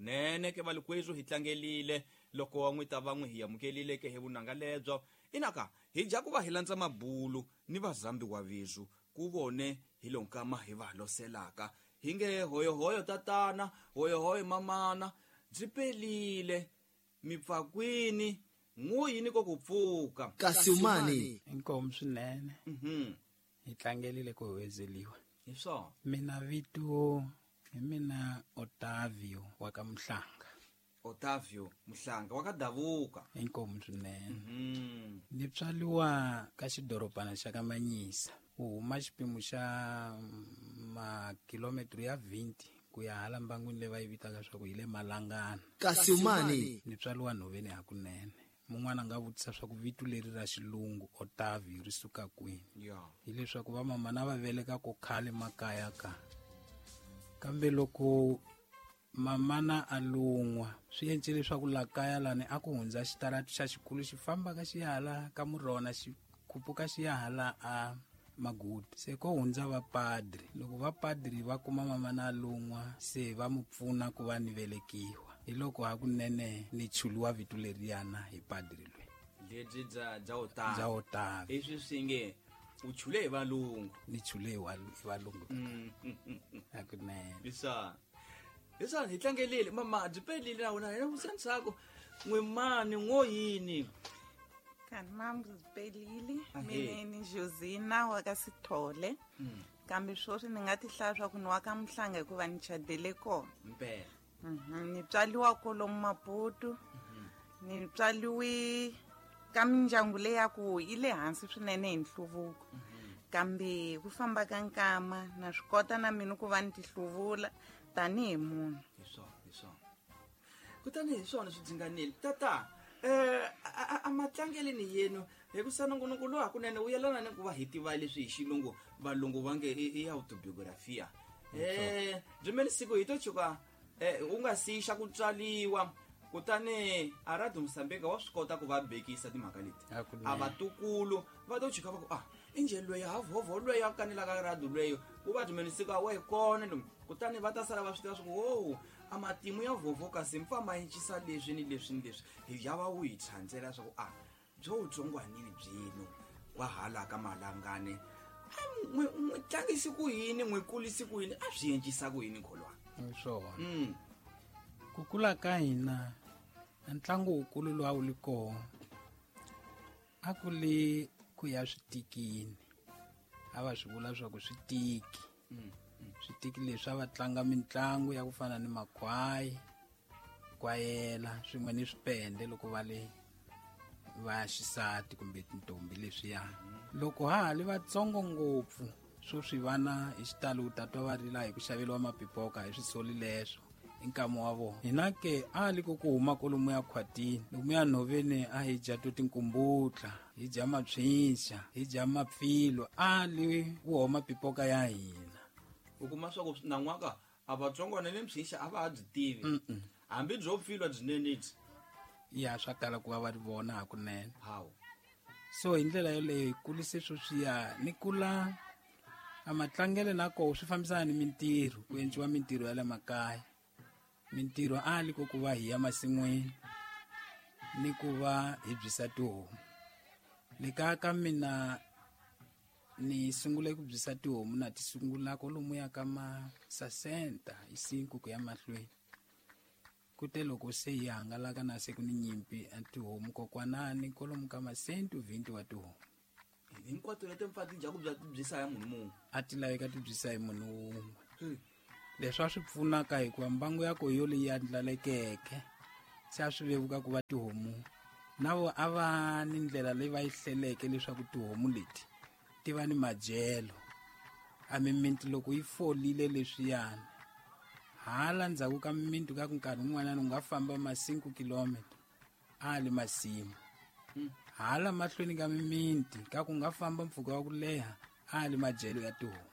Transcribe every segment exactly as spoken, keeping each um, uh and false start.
Kunene ke valikwezu hi tlangelile loko n'wi ta va n'wi hi amukelile ke hi vunanga lebyo. Inaka hi dya ku va hi landza mabulu ni vazambi wa vizu ku vone hi lonkama hi va loselaka. Hi nge hoyohoyo tatana, hoyohoyo mamana, byi pelile mipfakwini n'wi ko ku pfuka. Kasi umani inkomu swinene. Mhm. Hi tlangelile ku huwezeliwa. Hi swona. Mina vito hi mina Otavio wa ka Mhlanga. Otavio Mhlanga wa ka Davuka. Inkomu swinene. Mhm. Ni tswaliwa ka xidorobana xa ka Manyisa. U huma xipimo xa makilometro ya twenty ku ya hala mbangwini leyi va yi vitaka swa ku hi le Malangana. Kasi umani ni tswaliwa nhoveni hakunene. Mun'wana a nga vutisa swa ku vito leri ra xilungu Otavio ri suka kwini. Yeah. Hileswaku va mama na va veleka ko khale makaya ka. Kambe loko mamana a lun'wa swi endle leswaku la kaya lani a ku hundza xitarati xa xikulu xi fambaka xi ya hala ka Murona xi khupuka xi ya hala a Magudu. Se ko hundza vapadri. Loko vapadri va kuma mamana a lun'wa se va mu pfuna ku va ni velekiwa. Hi loko hakunene ni chuluwa vito leriyana hi padri loyi. Lebyi bya bya Otavio. Bya Otavio. Leswi swi nge u chule hi valungu. Ni chule hi walu-, hi valungu. Mm. Hakunene. Hi swona. Hi swona hi tlangelile mama byi pelile na wena hina vusani swaku n'wi mani n'wo yini. Kanti mam byi pelile. Ahee. Mina ni Josina wa ka Sithole. Mm. Kambe sweswi ni nga ti hlaya swa ku ni wa ka Mhlanga hikuva ni chadele kona. Mpela. Mhm. Ni tswaliwa kolomu Maputo. Mhm. Ni tswaliwi ka mindyangu leyi ya ku yi le hansi swinene hi nhluvuko. Mhm. Kambe ku famba ka nkama na swi kota na mina ku va ni tihluvula tanihi munhu. Hi swona, hi swona. Kutani hi swona swi dzinganile. Tata, eh, a, a, a matlangeleni yenu hi ku sanongonoko lowu hakunene wu yelana ni ku va hi tiva leswi hi xilungu valungu va nge i, i autobiografia. Eh, byi siku hi to tshuka, eh, u nga sixa ku tswaliwa kutani a Radio Mozambique wa swi kota ku va bekisa timhaka leti. Hakunene. A vatukulu va to tshuka va ku, ah, i njhe loyi ha vhovho loyi a kanelaka radio loyi, ku va byi siku a wa hi kona lomu. Kutani va ta sala va swi tiva swa ku, wo, a matimu ya vhovho kasi mpfa ma encisa leswi ni leswi ni leswi. Hi ya va wu hi tshandzela swa ku, ah, byo wu tsongwanini byino wa hala ka Malangane. A n'wi, n'wi tlangisi ku yini, n'wi kulisi ku yini, a swi encisa ku yini kholwa? Hi swona. Mm. Ku kula ka hina, a ntlangu wukulu lowu a wu li kona, a ku li ku ya switikini. A va swi vula swa ku switiki. Mm. Switiki leswi a va tlanga mitlangu ya ku fana ni makhwayi, kwayela, swin'we ni swipende loko va le va xisati kumbe tintombi leswiya. Loko ha ha li vatsongo ngopfu, swo swi vana hi xitalo u ta twa va rila hi ku xaveriwa mapipoka hi swisoli leswo i nkama wa vona. Hina ke a li ku ku huma kwalomu ya khwatini, lomu ya nhoveni a hi dya to tinkumbutla, hi dya mapyinxa, hi dya mapfilo, a li wu homa pipoka ya hina. U kuma swa ku nan'waka a vatsongwana ni mpyinxa a va ha byi tivi. Mm-mm. Hambi byo pfilwa byinene byi. Ya swa kala ku va va ri vona hakunene. Hawu. So hi ndlela yoleyo hi kulise sweswiya ni kula a matlangelo na koho swi fambisana ni mintirho, ku endliwa mintirho ya le makaya. Mintirho a li ku ku va hi ya masin'wini ni ku va hi byisa tihomu. Le kaya ka mina ni sungule ku byisa tihomu na ti sungula kwalomuya ka ma sesenta hi cinco ku ya mahlweni. Kute loko se hi hangalaka na se ku ni nyimpi a tihomu kokwanani kwalomu ka masenti twenty wa tihomu. Hinkwato leti mfa ti dya ku bya ti byisa hi munhu mun'we. A ti laveka ti byisa hi munhu wun'we. Hmm. Leswi a swi pfunaka hikuva mbangu ya koho yo leyi andlalekeke, se a swi vevuka ku va tihomu. Na vo a va ni ndlela leyi va yi hleleke leswaku tihomu leti ti va ni madyelo. A mimiti loko yi folile leswiyani, hala ndzhaku ka mimiti ka nkarhi wun'wanyana u nga famba ma cinco kilometro a le masimu. Hmm. Hala mahlweni ka mimiti ka ku nga famba mpfhuka wa ku leha a le madyelo ya tihomu.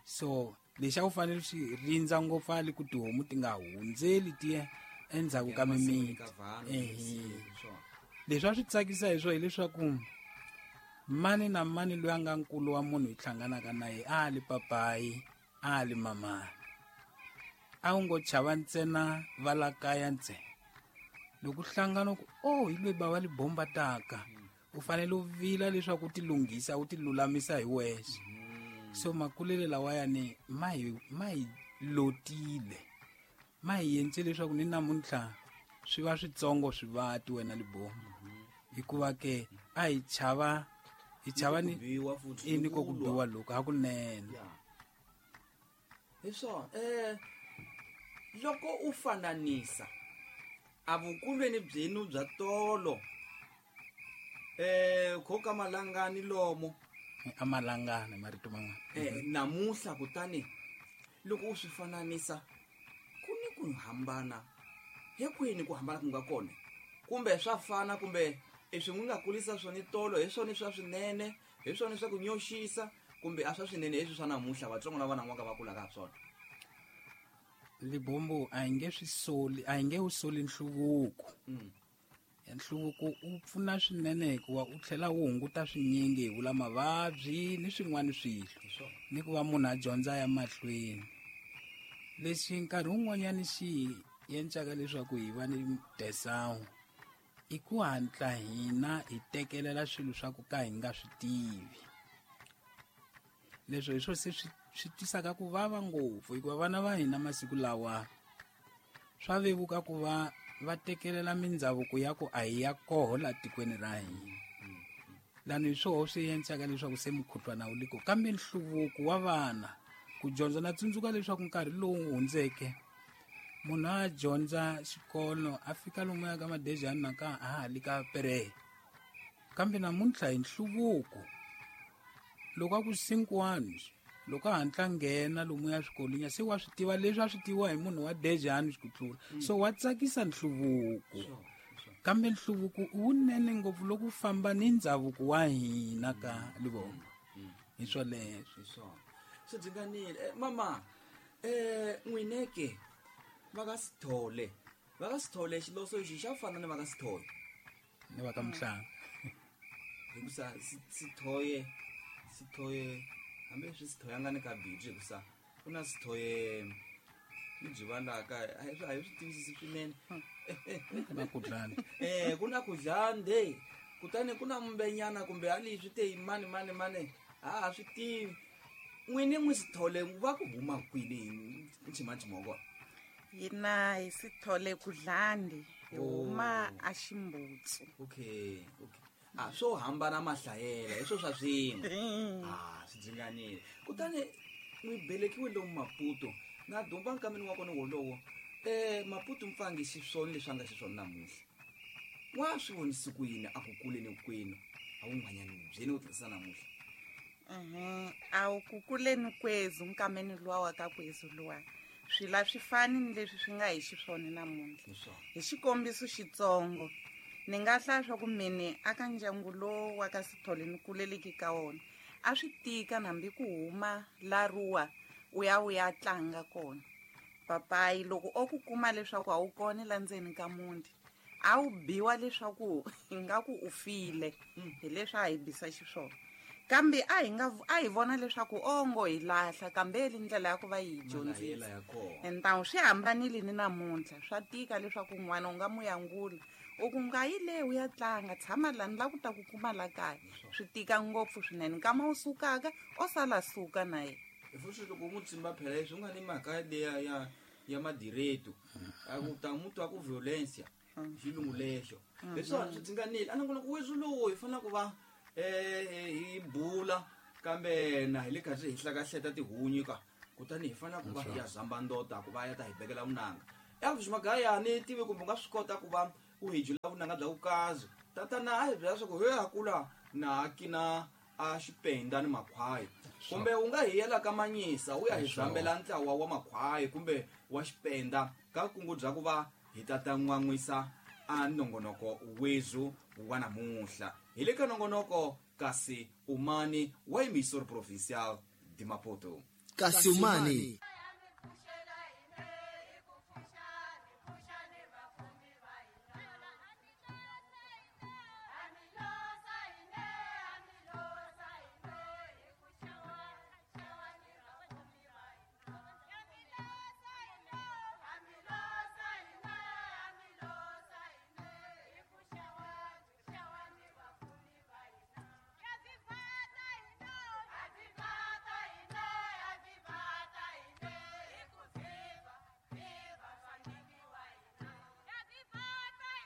So lexi a wu fanele xi rindza ngopfu a le ku tihomu ti nga hundzeli ti ya endzhaku ka Ya masin'wini mimiti. ka vanhu, Ehe. swona. Leswi a swi tsakisa hi swona hileswaku mani na mani loyi a nga nkulu wa munhu hi hlanganaka na yena a li papayi, a li mamani. A wu ngo chava ntsena va la kaya ntsena. Loko hlangana ku oh hi loyi bava Libombo taka, u fanele u vila leswaku u ti lunghisa u ti lulamisa hi wexe. So makulele lawayani ma hi ma hi lotile, ma hi endle leswaku ni namuntlha swi va switsongo swivati wena Libombo. Hikuva ke a hi chava hi chava ni i ni ko ku biwa loko hakunene. Hi swona eh loko u fananisa a vukulweni byenu bya tolo eh khoka malangani lomo a malangana marito man'wana eh namuhla kutani loko u swi fananisa ku ni ku hambana hi kwini ku hambana ku nga kona kumbe swa fana kumbe leswi n'wi nga kulisa swona tolo hi swona swa swinene hi swona swa ku nyoxisa kumbe a swa swinene leswi swa namuhla vatsongo na vana n'waka va kulaka ha swona. Libombo a hi nge swi soli a hi nge wu soli nhluvuko. Nhluvuko u pfuna swinene hikuva u tlhela wu hunguta swinyingi hi vula mavabyi ni swin'wana swilo ni ku va munhu a dyondza ya mahlweni. Lexi nkarhi wun'wanyani xi endlaka leswaku hi va ni desawu i ku hatla hina hi tekelela swilo swa ku ka hi nga swi tivi. Leswo hi swo se swi swi tisaka ku vava ngopfu hikuva vana va hina masiku lawa swa vevuka ku va va tekelela mindhavuko ya ku a hi ya koho la tikweni ra hina. Lani hi swoho swi endlaka leswaku se mukhuhlwana wu liko kambe nhluvuko wa vana ku dyondza na tsundzuka leswaku nkarhi lowu hundzeke munhu a dyondza xikolo a fika lomuya ka madejani na ka a ha li ka pere kambe namuntlha hi nhluvuko loko a ku cinco loko a hatla nghena lomuya swikolweni se wa swi tiva leswi a swi tiviwa hi munhu wa dejani ku tlula. So wa tsakisa nhluvuko kambe nhluvuko wunene ngopfu loko u famba ni ndhavuko wa hina ka Libombo. Hi swoleswo hi swona swi dzinganile. Mama eh n'wineke va ka Sithole va ka Sithole xiloso lexi xa fana ni va ka Sithole ni va ka Mhlanga hikusa Sithoye Sithoye hambi leswi Sithoye a nga ni ka bibyi hikusa ku na Sithoye ni byi valaka a hi a hi swi tivisisi swinene na kudlani eh ku na kudlande kutani ku na mbenyana kumbe a leswi te mani mani mani a ha swi tivi. N'wini n'wi Sithole va ku huma kwini nchimanchima wa kona? Hina hi Sithole kudlandi hi huma a Ximbutsu. Okay okay a swo hambana mahlayela hi swo swa swin'we a swi dzinganile. Kutani n'wi belekiwe lomu Maputo na dumba nkameni wa kona wolowo eh Maputo mpfangi xiswona leswi a nga xiswona namuntlha wa swi vonisi ku yini a ku kuleni kwenu a wun'wanyani byeni ku tlherisa namuntlha? Mhm a wu ku kuleni kwezu nkameni luwa wa ka kwezu luwa swila swi fani ni leswi swi nga hi xiswona namuntlha. Hi xikombiso xitsongo ni nga hlaya swa ku mene aka ndyangu lowu wa ka Sithole ni kuleleki ka wona a swi tika hambi ku huma laruwa u ya u ya tlanga kona. Papayi loko o ku kuma leswaku a wu kona la ndzeni ka muti a wu biwa leswaku ingaku u file hi leswi a hi bisa xiswona. Kambe a hi nga a hi vona leswaku ongo hi lahla kambe li ndlela ya ku va hi dyondzisa. Entawu swi hambanile ni namuntlha swa tika leswaku n'wana u nga mu yangula u ku nga yi le u ya tlanga tshama lani la ku ta ku kuma la kaya swi tika ngopfu swinene nkama wu sukaka o sala suka na yena. Futhi loko mu tsimba phela leswi u nga ni mhaka leya ya ya madireto a ku ta mu twa ku violencia xilungu lexo leswiwani swi dzinganile a nongonoko weswi lowu hi fanele ku va eh hi bula kambe na hi le karhi hi hlakahleta tihunyi ka kutani hi fanele ku va ya zamba ndota ku va ya ta hi bekela vunanga Elvis Magaya ni tivi kumbe u nga swi kota ku va u hi jula vunanga bya vukazi tatana a hi byela swa ku he a kula na kina a xipenda ni makhwayi kumbe u nga hi yela ka Manyisa u ya hi zambela ntlawa wa makhwayi kumbe wa xipenda ka kungu bya ku va hi tata n'wan'wisa a nongonoko wezu wa namuntlha. Hi le ka nongonoko kasi umani wa emisor provincial de Maputo. Kasi umani.